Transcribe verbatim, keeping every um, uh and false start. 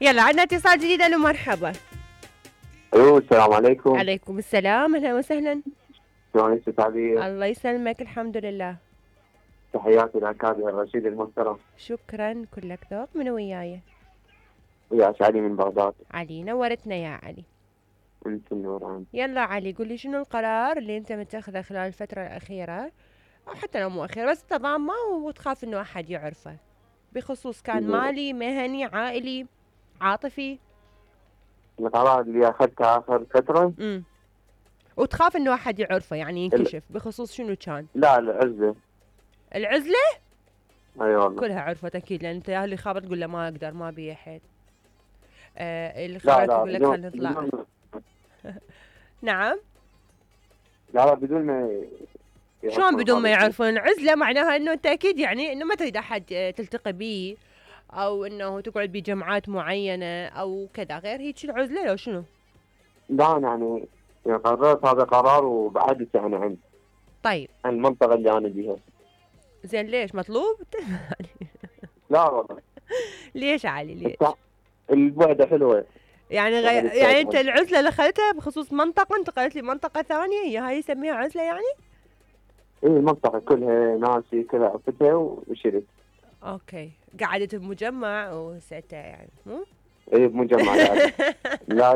يلا عندنا اتصال جديد. الو مرحبا. الو السلام عليكم. عليكم السلام، اهلا وسهلا. شلونك ست عبير؟ الله يسلمك، الحمد لله. تحياتي لأكابر الرشيد المحترم. شكرا، كلك ذوق. من وياي؟ وياك علي من بغداد. علي، نورتنا يا علي. انت النوران. يلا علي، قل لي شنو القرار اللي انت متخذه خلال الفترة الأخيرة، أو حتى لو مو أخيرة بس تضامه وتخاف إنه أحد يعرفه، بخصوص كان مالي، مهني، عائلي، عاطفي. القرار اللي أخذته آخر فترة. امم وتخاف إنه أحد يعرفه، يعني ينكشف. بخصوص شنو كان؟ لا العزلة. العزلة؟ أي والله. كلها عرفت أكيد، لأن أنت اللي خابط تقول له ما أقدر، ما بي حيل. آه اللي لا خابط لا يقول لك بدون خلينا نطلع. بدون نعم. لا لا بدون ما شلون بدون ما يعرفون؟ عزلة معناها انه انت اكيد يعني انه ما تريد احد تلتقي بيه، او انه تقعد بجمعات معينة او كذا، غير هيك العزلة لو شنو؟ لا يعني يعني قررت هذا قرار وبعدت يعني عن طيب عن المنطقة اللي أنا بيها. زين ليش مطلوب؟ لا والله. ليش علي ليش؟ البعدة حلوة. يعني غي... يعني انت العزلة اللي اخذتها بخصوص منطقة، انتقلت لي منطقة ثانية هي هاي يسميها عزلة يعني؟ ايه المنطقة كلها ناسي كذا عرفتها وشريت. اوكي، قعدت بمجمع وسألتها يعني مو؟ ايه بمجمع لا لا